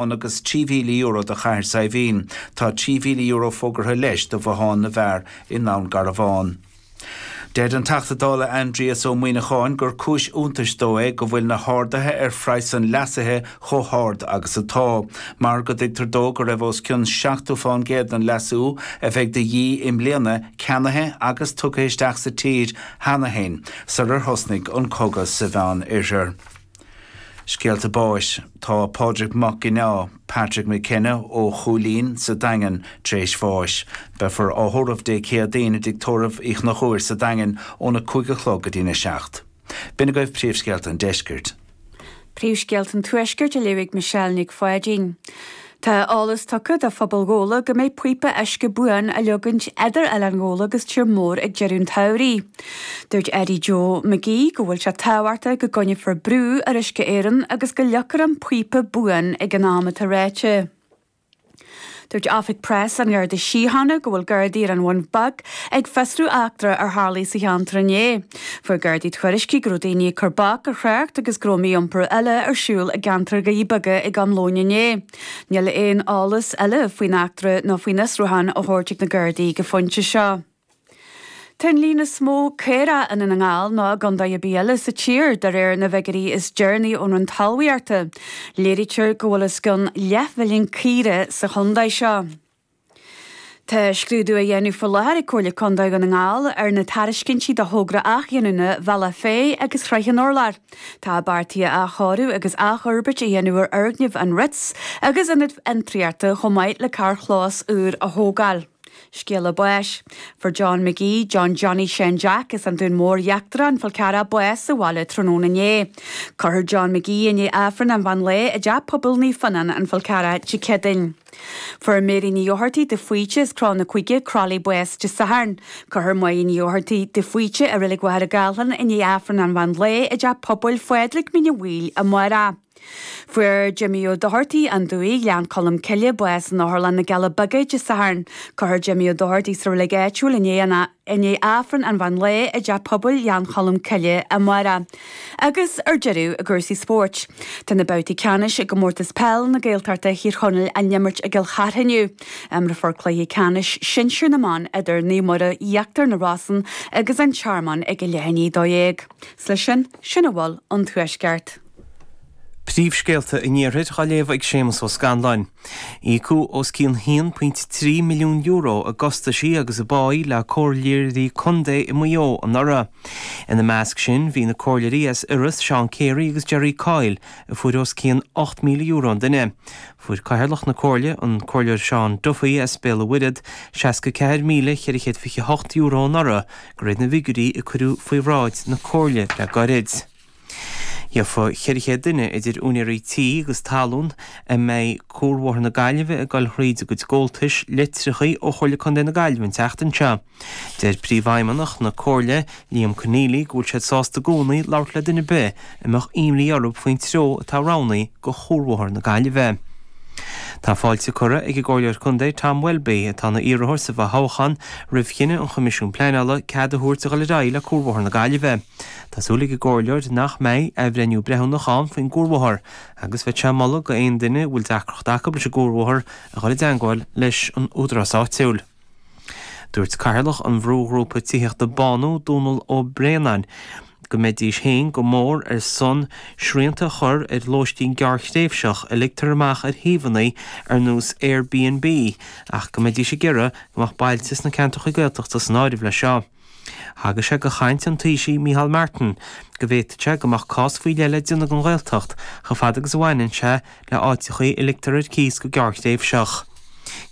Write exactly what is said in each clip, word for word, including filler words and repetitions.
agus trí mhíle euro do Chathair Saidhbhín. Tá trí mhíle euro fógartha leis do Bhothán na bhFear i nDún Garbhán. Deir an Teachta Dála Aindrias Ó Muimhneacháin gur cúis iontais dó é go bhfuil na harduithe ar phraghas an leasaithe chomh hard agus atá, mar go dtuigtear dó go raibh os cionn seachtó faoin gcéad den leasú a bheidh de dhíth i mbliana ceannaithe agus tugtha isteach sa tír cheana féin sular thosnaigh an cogadh sa Mheánoirthear. Scéalta báis tá Pádraig Mac Ginneá, Patrick McKenna ó Chúilín sa Daingean tar éis bháis. Beifear á thórramh Dé Céadaoin i dTigh Tórraimh Uí Chonchúir sa Daingean óna cúig a chlog go dtína seacht. B'in agaibh príomhscéalta an deiscirt. Príomhscéalta an tuaiscirt á léamh ag Michelle Nic Pháidín. Tá eolas tugtha do phobal Ghabhla go mbeidh píopa uisce buan á leagaint idir Oileán Ghabhla agus Tír Mór ag deireadh an tsamhraidh. Dúirt Eddie Joe McGee go bhfuil sé tábhachtach go gcoinneofar brú ar Uisce Éireann agus go leagfar an píopa buan ag an am atá ráite. Dúirt Oifig Preas an Gharda Síochána go bhfuil Gardaí ar an Bhun Beag ag fiosrú eachtra ar tharla sa cheantar inné. Fuair Gardaí tuairiscí go raibh daoine ag cur bac ar thrácht agus go raibh mí-iompar eile ar siúl i gceantar Dhoirí Beaga ag am lóin inné. Níl aon eolas eile faoin eachtra nó faoin fhiosrúchán á thabhairt ag na Gardaí go pointe seo. Tá an líon is mó caorach i nDún na nGall ná i gcontae ar bith eile sa tír de réir na bhfigiúirí is deireanaí ón Roinn Talmhaíochta. Léirítear go bhfuil os cionn leathmhilliún caora sa chontae seo. Tá scrúdú á dhéanamh faoi láthair ag Comhairle Contae Dhún na nGall ar na tairiscintí do thogra athghiniúna Bhealach Féich agus Shraith an Urláir. Tá beartaithe athchóiriú agus athfhorbairt a dhéanamh ar fhoirgneamh an Ritz agus ionad fiontraíochta chomh maith le carrchlós úr a thógáil. Scéala báis. Fuair John McGee, John Johnny Sean Jack as an Dún Mór Íochtarach an Fál Carrach bás sa bhaile tráthnóna inné. Cuirfear John McGee i ndiaidh Aifreann an mheán lae i dTeach Pobail Naomh Fionnán an Fál Carrach Dé Céadaoin. Fuair Mary Ní Fhothartaigh de Faoite as Cró na Cúige Crolly bás Dé Sathairn. Cuirfear Máire Ní Fhothartaigh de Faoite i Reilig Mhachaire Gathlán i ndiaidh Aifreann an mheán lae i dTeach Pobail Phádraig Mín an Mhaoil amárach. Fuair Jimmy Ó Dochartaigh an Dumhaigh Ghleann Cholm Cille bás in Otharlann na gCealla Beaga Dé Sathairn. Cuirfear Jimmy Ó Dochartaigh sa reilig áitiúil i ndiaidh Aifreann an mheán lae i dTeach Pobail Ghleann Cholm Cille amárach. Agus ar deireadh i gcúrsaí spóirt. Tá na babhtaí ceannais i gcomórtas peil na Gaeltachta Thír Chonaill á n-imirt i gCill Chartha inniu. Imreofar cluiche ceannais sinsir na mban idir Naomh Muire Íochtar na Rosann agus an Tearmann ag a leath i ndiaidh a dó dhéag. 'S leis sin, sin a bhfuil ón tuaisceart. Príomhscéalta an iarthair á léamh ag Séamus Ó Scanláin. Íocadh os cionn haon pointe trí milliún euro i gcostaisí agus i bpáí le comhairleoirí contae i Maigh Eo anuraidh. Ina measc sin bhí na comhairleoirí as Iorras Seán Carey agus Jerry Coyle a fuair os cionn ocht míle euro an duine. Fuair cathaoirleach na comhairle, an comhairleoir Seán Duffy as Béal an Mhuirthead, seasca ceathair míle ceithre chéad fiche hocht euro anuraidh de réir na bhfigiúirí a cuireadh faoi bhráid na comhairle le gairid. Gheofa ceithre chéad duine idir úinéirí tí agus talún a mbeidh Cuarbhóthar na Gaillimhe ag dul thríd a gcuid gabháltais leictreacha ó Chomhairle Contae na Gaillimhe an tseachtain seo. Deir Príomhfheidhmeannach na Comhairle, Liam Conneely, go bhfuil siad sásta i gcónaí labhairt le duine ar bith a mbeadh imní orthu faoin treo atá roghnaithe do Chuarbhóthar na Gaillimhe. Tá fáilte curtha ag an gComhairleoir Contae Tom Welby, atá ina iarrthóir sa bhfothoghchán, roimh chinneadh an Choimisiúin Pleanála cead a thabhairt a dhul ar aghaidh le Cuarbhóthar na Gaillimhe. Tá súil ag an gcomhairleoir nach mbeidh athbhreithniú breithiúnach ann faoin gcuarbhóthar agus bheadh sé ag moladh go aon duine a bhfuil deacracht acu leis an gcuarbhóthar a dhul i dteangmháil leis an údarás áitiúil. Dúirt cathaoirleach an bhrúghrúpa tithíochta Bánú, Dónal Ó Braonáin, go mbeidís féin go mór ar son srianta a chur ar lóistín gearrthréimhseach a ligtear amach ar shuíomhanna ar nós Airbnb ach go mbeidís ag iarraidh go mbeadh bailte sna ceantracha Gaeltachta san áireamh leis seo. Thagair sé do chaint an Taoisigh Micheál Martin go bhféadfadh sé go mbeadh cás faoi leith le déanamh den Ghaeltacht chomh fada agus a bhaineann sé le áiteachaí a ligtear ar cíos go gearrthréimhseach.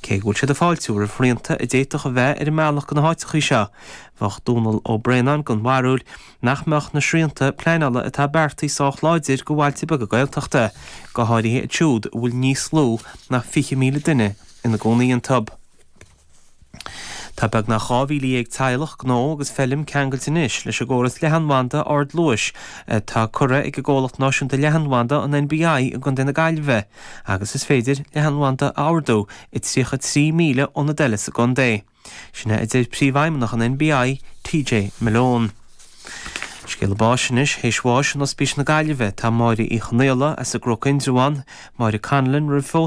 Cé go bhfuil siad ag fáiltiú roimh shrianta a d'fhéadfadh a bheith ar an mbealach go na háiteachaí seo, bheadh Dónal Ó Braonáin den bharúil nach mbeadh na srianta pleanála atá beartaithe sách láidir do bhailte beaga Gaeltachta, go háirithe iad siúd a bhfuil níos lú ná fiche míle duine ina gcónaí iontu. Tá beagnach dhá mhíle dhéag teaghlach, gnó agus feilm ceangailte anois leis an gcóras leathanbhanda ardluais atá curtha ag an gcomhlacht náisiúnta leathanbhanda, an NBI, i gContae na Gaillimhe agus is féidir leathanbhanda a ordú i tríocha trí míle ionad eile sa gcontae. Sin é a deir Príomhfheidhmeannach an NBI, TJ Malone. Scéala báis anois théis bháis in Ospís na Gaillimhe tá Máire Uí Chonaola as an gCnoc Indreabhán, Máire Conlon roimh